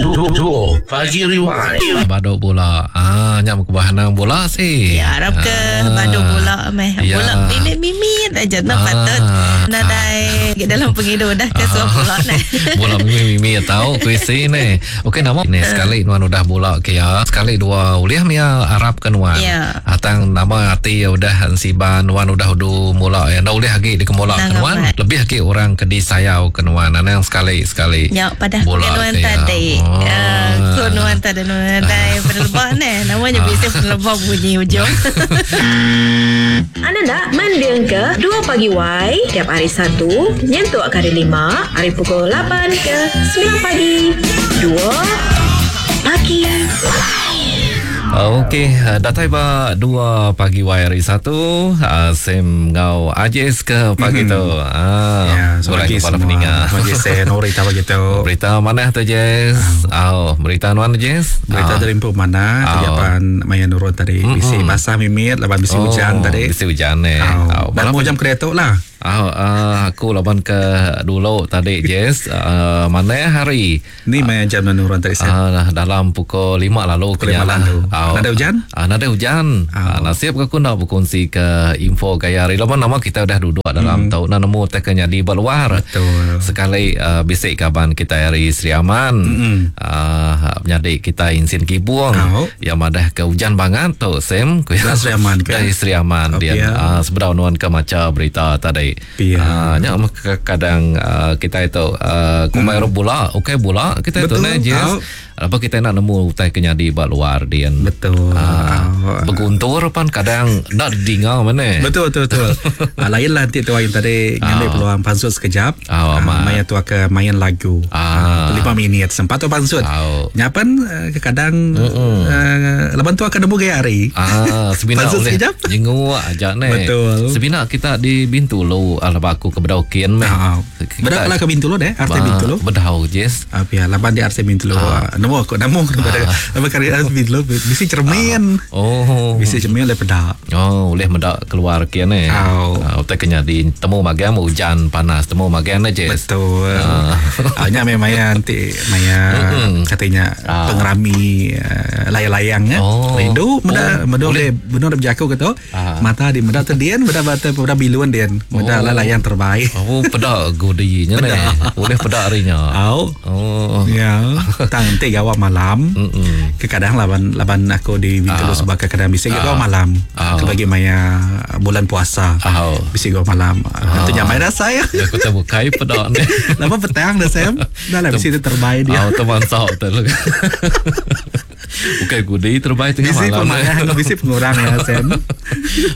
Dua Pagi Rewind. Badu bula. Ah nya meh kubah anang bula si. Ya arap ke Ah. badu bula meh. Ya. Bula mimit-mimit aja enda Ah. patut nadai dalam pengidup dah ke suah bula neh. Bula mimit-mimit tau kuisi ni. Okey nama ni sekali nuan udah bula ke ya. Sekali dua ulih mia arap ke nuan. Ya. Atang nama ati ya udah ensiban nuan udah udu mula ya. Enda ulih agi dikemula ke Nang nuan. amat. Lebih agi orang ke disayau ke nuan. Anang sekali-sekali. Ya padah Bula ke nuan ke ya. tadi. Oh. Ah, ko nuan tadi nuan dai penelebak neh. Namanya bisa penelebak bunyi ujung. Anda nak mending ke 2 pagi Y tiap hari 1 nyentuk ke hari 5 hari pukul 8 ke 9 pagi. 2 pagi. Okey, datai ba 2 pagi Y hari 1, Sam ngau Ajis ke pagi tu. Ah, Ya, kurang pagi kepala semua. peninga. Pagi saya Nori tahu gitu. Berita mana tu Jess? Oh, berita nuan Jess? Berita Ah. dari empu mana? Oh. Tadi apaan maya nurun tadi. Bisi basah mimit, laban bisi Oh, hujan tadi. Bisi hujan eh. Oh. Oh, Dan mau jam kereta lah. Oh, aku laban ke dulu tadi Jess, mana hari? Ni maya jam nurun tadi saya. Dalam pukul 5 lalu Pukul 5 lalu. Oh. Nada hujan? Nada hujan. Oh. Nasib aku nak berkongsi ke info gaya hari. Laban nama kita udah duduk dalam mm. tau nak nemu tak kena di luar. Betul. Sekali bisik kaban kita hari Sri Aman. Mm-mm. Menyadik kita insin kibung. Oh. Yang madah ke hujan banget tu Sam. Dah Sri Aman ke? Dari Sri Aman Oh, dia. pia. Seberau nuan ke maca berita tadi. Pia. Nya mah kadang kita itu kumai mm. bula, okey bula kita itu Betul. ne Jess. Oh. Apa kita nak nemu utai kenyadi ba luar dia. Betul. Oh. Berguntur pan kadang nak didinga mana. Betul betul betul. Ah, lain lah nanti tu yang tadi ngambil Ah. peluang pansut sekejap. Ah, amat. maya tu ke main lagu. Ah. 5 minit sempat tu pansut. Ah. Nyapan kadang laban tu akan nemu gaya hari. Ah, sebina Pansut oleh sekejap. jenguk aja ne. Betul. Sebina kita di Bintulu ala aku ke Bedaukin meh. Ah. Bedau lah ke Bintulu deh, RT Bintulu. Bedau Jess. Ah, pia laban di RC Bintulu. Ah. Nemu aku nemu kepada laban kari RC Bintulu bisi cermin. Oh. Bisi cermin oleh pedak. Oh, boleh mendak keluar kian eh. Au. Ah, utai kena di temu magang hujan panas, temu magang ne Jess. Betul. Ah. Ah. Nya memang maya nanti maya katanya Ah. pengerami layang-layang ya. Oh. Rindu meda Oh, meda boleh. boleh benar berjaku gitu. Ah. Mata di meda tu dian meda bata meda biluan dian. Meda Oh. lah layang terbaik. Oh, pedak godinya ne. Boleh pedak harinya. Au. Oh. Ya, tang nanti gawa malam. Mm-mm. Kekadang laban laban aku di Bintulu Ah. sebab kadang bisa gawa malam. Ah. Bagi maya bulan puasa. Ah. Bisa gawa malam. Ah. Itu nyamai dah saya. Ya, aku tak bukai pedak ni. Lama petang dah Sam. Dah lah bisa itu terbaik dia. Oh, teman sok tu. Bukan gudi terbaik tengah Bisi malam. pemayah, bisi pengurang ya Sam.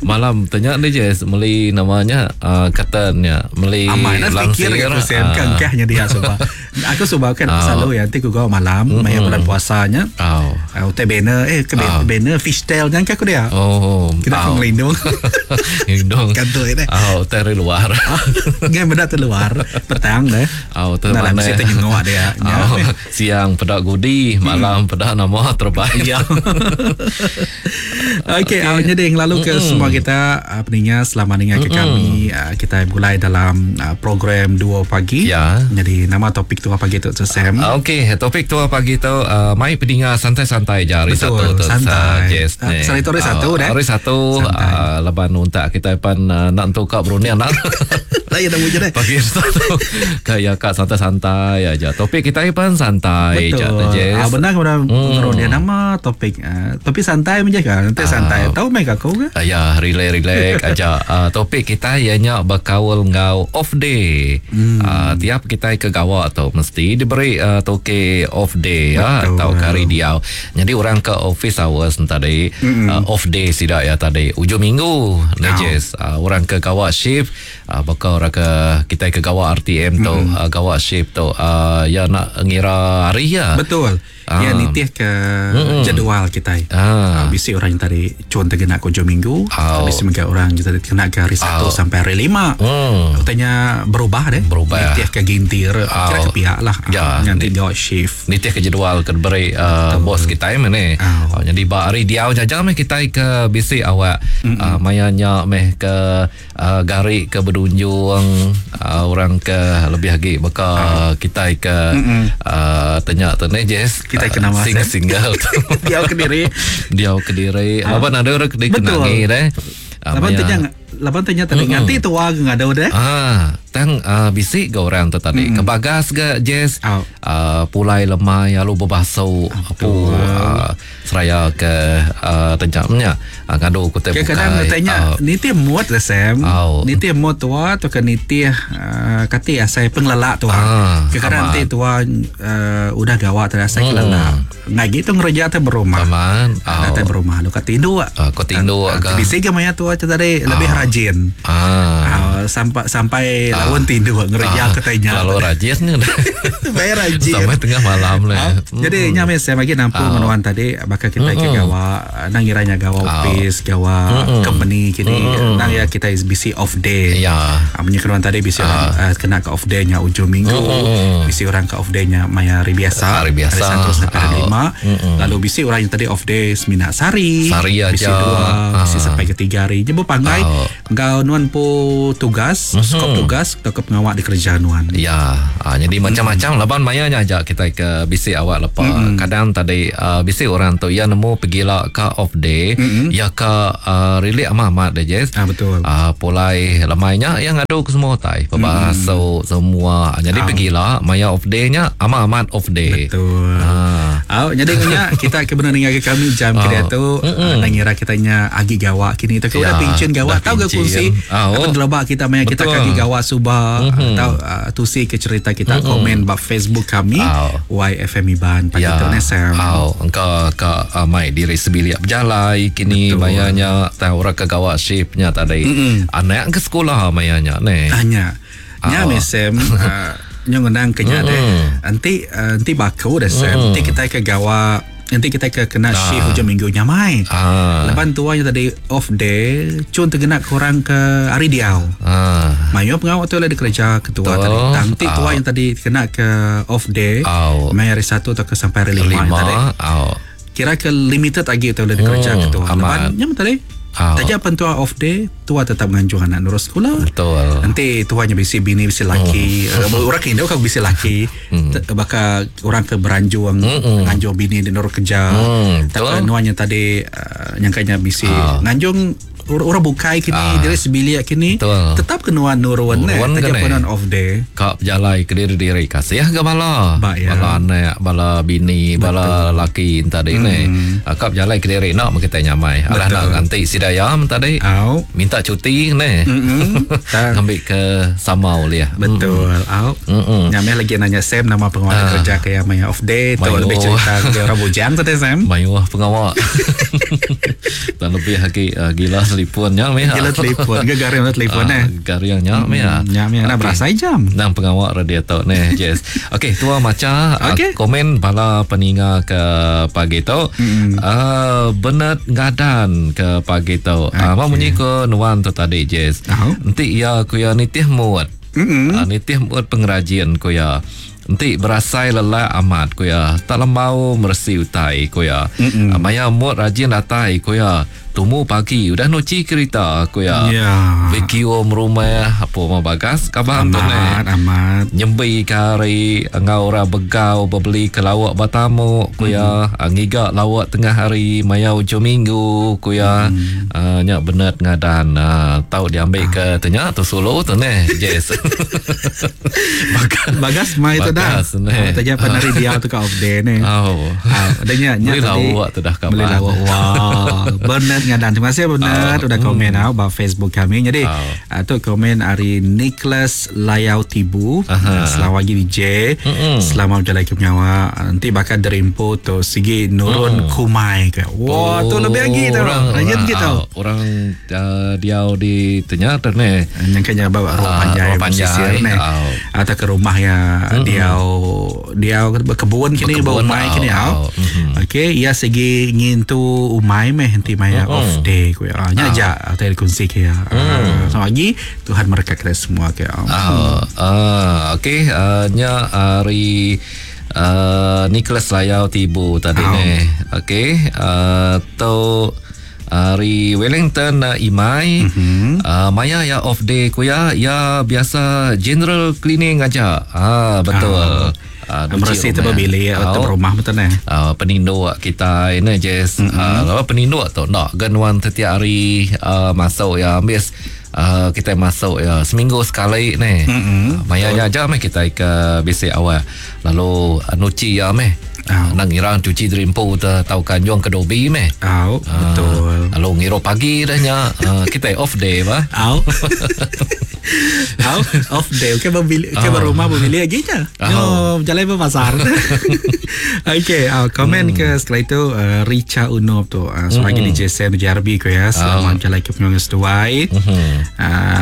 Malam tanya ni je meli namanya katanya meli Amai nak fikir aku Sam ah. kangkahnya dia sebab. Aku sebab kan Ah. selalu ya nanti aku gawa malam maya bulan puasanya. Oh. Uh, utai banner eh ke Ah. banner fishtail jangan aku dia. Oh, Kita aku ngelindung. Ngelindung. Kantor ini. Oh, dari luar. Ngai benda tu luar petang deh. Oh, tu Nah, lah mana? mesti ternyengok dia. Ya. Oh, siang pedak gudi, malam pedak nama terbaik. Ya. Okey, okay. jadi yang lalu ke semua kita pendengar selama dengar ke kami kita mulai dalam program 2 pagi. Ya. Jadi nama topik 2 pagi tu tu Sam. Okey, topik tu pagi tu mai pendengar santai-santai je hari Betul, Satu tu. santai. Jess, Ah, ni. hari tu hari Ah, Satu, dah. Hari Satu Santai. leban untak kita pan nak tukar berunian nak. Lah ya dah wujud deh. Pagi Satu kayak kak santai-santai aja. Topik kita pan santai je Betul. Jess. Ah, benar kepada hmm. dia nama topik. Topik santai aja kan. Nanti santai. Tahu mai aku ke? Ya, relax-relax aja. Topik kita ianya berkaul ngau off day. Tiap kita ke gawak tu mesti diberi toke off day ya Betul. atau hari diau. Jadi orang ke office hours tadi off day sidak ya tadi ujung minggu nejes. Orang ke gawak shift bakal orang ke kita ke gawak RTM tu gawak shift tu ya nak ngira hari ya. Betul. Ya Ah. nitih ke jadual kita. Ah. Bisi orang yang tadi cuan terkena ke hujung minggu, Oh. bisi mega orang yang tadi kena ke hari Sabtu Oh. sampai hari Lima. Katanya berubah deh. Berubah. Nitih ke gintir, kira ke pihak lah. Ya. Nanti dia shift. Nitih ke jadual ke beri bos kita mana. Oh. Oh, jadi ba hari diau jajah meh kita ke bisi awak maya nya meh ke garik ke berdunjung nampung uh, orang ke lebih agi baka uh. kitai ke uh, tanya tu ni Jess. Kitai ke nama single single tu. Diau kediri. Diau kediri. Laban ada orang ke dikenangi deh. Laban tanya laban tanya tadi nganti tua ke ngadu deh. Ah, tang uh, bisi ga orang tu tadi. Mm. Kebagas ga Jess. Oh. Uh, pulai lemai lalu bebasu apu uh, seraya ke uh, tanya nya uh, ngadu ku tai bukai. Kadang tanya uh, nitih mood lah Sam. Oh. Nitih mood tua tu ke nitih uh, kati asai pengelelak tua. Ah, Kadang nanti tua uh, udah gawa tadi asai mm. kelelak. Ngagi tu ngereja tu berumah. Aman. Oh. Datai berumah lu kat tinduk. Uh, kau tinduk uh, Bisi ke maya tua tu tadi uh. lebih rajin. Ah. Uh, sampai sampai uh. lawan tinduk ngereja uh. ke tanya. Kalau rajin ni. Bayar rajin. Sampai tengah malam lah. Uh. Jadi mm. nyame saya bagi nampung uh. menuan tadi bakal kita mm. ke gawa nang iranya gawa office, gawa mm. company kini mm. nang ya kita is busy off day. Ya. Uh, Menyekruan tadi bisi uh. orang uh, kena ke off day nya ujung minggu, mm. bisi orang ke off day nya maya hari biasa. Hari biasa. Hari 1 sampai hari 5. Lalu bisi orang yang tadi off day semina sehari. Sehari aja. Bisi dua, bisi sampai ke tiga hari. Jadi berpanggai engkau nuan po tugas, skop tugas atau ke pengawak di kerja nuan. Ya, ha, jadi macam-macam laban maya nya aja kita ke bisi awak lepa. Kadang tadi uh, bisi orang tu ia nemu pergi lah ke off day, ya ke uh, relax amat-amat deh Jess. Ah betul. Uh, pulai lemainya yang ngadu ke semua tai, pebasuh semua. Jadi ah. pergilah maya off day nya amat-amat off day. Betul. Ah. Oh, jadi punya kita ke benar dengar ke kami jam oh. tu uh, ngira kitanya agi gawak kini tu Ya, udah pincin gawak dah tahu ke pincin. kongsi Ah, oh. apa terlebak kita maya kita Betul. kaki gawak subah atau uh, tusi ke cerita kita komen bab Facebook kami Ah. YFM Iban pagi Ya. tu Nesam. Au, engkau ka uh, mai diri sebilik berjalai kini Betul. mayanya tahu orang ke gawak shiftnya tadi. Anak ke sekolah mayanya ne. Hanya nya Ah. mesem uh, nyo ngenang ke nya deh. Nanti uh, nanti baku dah sem. Nanti kita ke gawak nanti kita ke kena shift hujung minggu nyamai. Ah. Lepas tua yang tadi off day, cun tergenak korang ke hari diau. Ah. Mayu pengawak tu lah dia kerja ketua Betul. tadi. Tangti tua Ah. yang tadi kena ke off day. Au. Mai hari satu atau ke sampai hari lima, yang tadi. Lima. Au. Kira ke limited lagi tu lah dia kerja ketua. amat. Lepas nyam tadi. Au. Taja pentua off day, tua tetap nganjung anak nurus sekolah. Betul. Nanti tuanya bisi bini bisi laki. Mm. Orang ke Indo kan bisi laki. Mm. Bakal orang ke beranjung nganjung bini di nurus kerja. Mm, betul. Tak nuanya tadi uh, nyangkanya bisi nganjung orang bukai kini diri sebilik kini Betul. tetap kena nurun eh Nurun taja kene. penuan off day. Kak berjalai ke diri-diri kasih ke bala. Ba, ya. Bala anak, bala bini, bala laki tadi ni. Kak berjalai ke diri nak kita nyamai. Alah nak ganti si dayam tadi. Au. Minta cuti ni. Mm-mm. Tak. Ngambil ke sama oleh. Betul. Au. Mm-mm. Nyameh lagi nanya Sam nama pengawal kerja kayak maya off day tu Mayo. lebih cerita ke orang bujang tu teh Sam. Mayuh pengawak. Dan lebih lagi uh, gila telefonnya meh. Gila telefon, gegaring telefon eh. Garingnya meh. Nyameh nak Okey. berasa jam. Nang pengawak radio tu ni. Yes. Okey, tua maca Okey. okay. komen bala peninga ke pagi tu. Mm. Uh, Bernard Ngadan ke pagi tu. Okay. Uh, mau munyi ke nuan tu tadi, Jess. Au. Nanti ya ku ya nitih muat. Mm-mm. Uh, nitih muat pengrajin ku ya. Enti berasai lelak amat ku ya. Tak lembau mersi utai ku ya. Uh, maya muat rajin datai ku ya. Tumu pagi udah nuci kereta ku ya. Ya. Vacuum rumah apa mau bagas kabar tu ni. Amat, amat. Nyembi ke hari Engau orang begau Berbeli ke lawak batamu Ku ya mm. Ngigak lawak tengah hari Maya ujung minggu Ku ya mm. uh, Nyak benet ngadan uh, Tahu diambil ke Tanya tu solo tu ni Yes Bagas Bagas mai tu dah. Bagas ni. Ah, Taja penari dia tu ke off day ni. Oh. Ah, adanya nya Beli tadi. lawak tu dah kabar. Beli lawak. Wah. Bernard ngadan. Terima kasih Bernard Ah, udah komen ah bab Facebook kami. Jadi Ah. ah, tu komen hari Nicholas Layau Tibu. Aha. Selamat pagi DJ. Selamat berjalan ke penyawa. Nanti bakal derimpo tu sigi nurun kumai ke. Wah, tu lebih lagi tu. Mm. Orang, Rajin orang, gitu. ah, Orang uh, diau di tanya tu ni. Yang kena bawa rumah Ah, panjai rumah panjai. pesisir ni. Ah. Atau ke rumah ya dia dia berkebun kini Berkebun, berumai ah, kini ah, au. mhm. Okey, ia segi ngintu umai meh nanti maya off day ku ya. Nya aja atau dikongsi ke ya. Mm. Selamat pagi, Tuhan berkat kita semua ke. ya. Ah, ah, okey, uh, nya hari uh, Nicholas Layau Tibu tadi Ah. ni. Okey, uh, tu Ari Wellington Imai. Mm-hmm. Maya ya off day ku ya, ya biasa general cleaning aja. Ah betul. Ah. Meresi tu bilik atau rumah betul ne. Peninduk kita ini Jess. Mm-hmm. Peninduk tu nak genuan setiap hari masuk ya ambis kita masuk ya seminggu sekali ni. Mm-hmm. Maya nya aja meh kita ke bisik awal. Lalu nuci ya meh. Oh. Nang ngira cuci derimpu te tau kanjung ke dobi meh. Oh, betul. Lalu ngira pagi dah nya kita off day ba. Oh. Oh, off day. Okey berbili ke rumah berbili lagi je. Oh, jalan berpasar. Okey, komen ke setelah itu Richa Unob tu sebagai DJ Sam JRB ko ya. Selamat jalan ke penyuang seduai.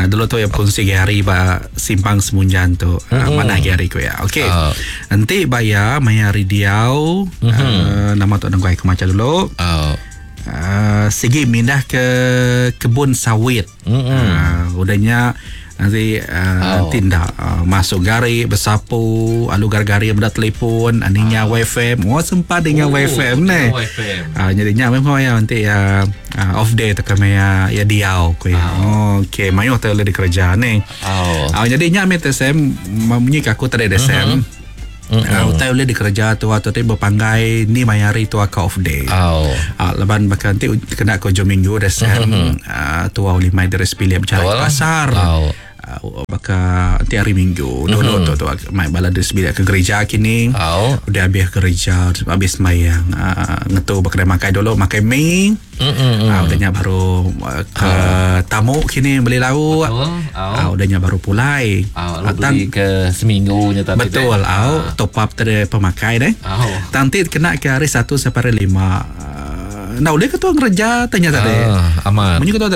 Dulu tu yang kongsi hari ba simpang Semunjan tu. Mana hari ko ya. Okey. Nanti bayar maya hari diau. Nama tu nunggu aku maca dulu. Sigi mindah ke kebun sawit. Udahnya nanti tindak masuk gari bersapu alu gari-gari benda telefon aninya WFM. Oh sempat dengan WFM ni. Jadinya memang ya nanti ya off day tu kami ya ya diau ku ya. Okey, mayu tu le dikerja ni. Jadinya me TSM memunyi aku tadi DSM. Utai boleh dikerja tu atau tu berpanggai ni mayari tu aku off day. Leban bahkan nanti kena ke hujung minggu DSM tu awal lima dari sepilih berjalan ke pasar. Baka nanti hari minggu dulu tu tu mai bala dari sebilik ke gereja kini. Udah habis gereja habis sembahyang ngetu berkedai makan dulu makan mi. Udahnya baru ke tamu kini beli lauk. Udahnya baru pulai. Beli ke seminggu nya tadi. Betul. Top up tadi pemakai deh. Nanti kena ke hari 1 sampai hari 5. Nah, boleh ketua ngereja tanya tadi. Amat. Munyi ketua.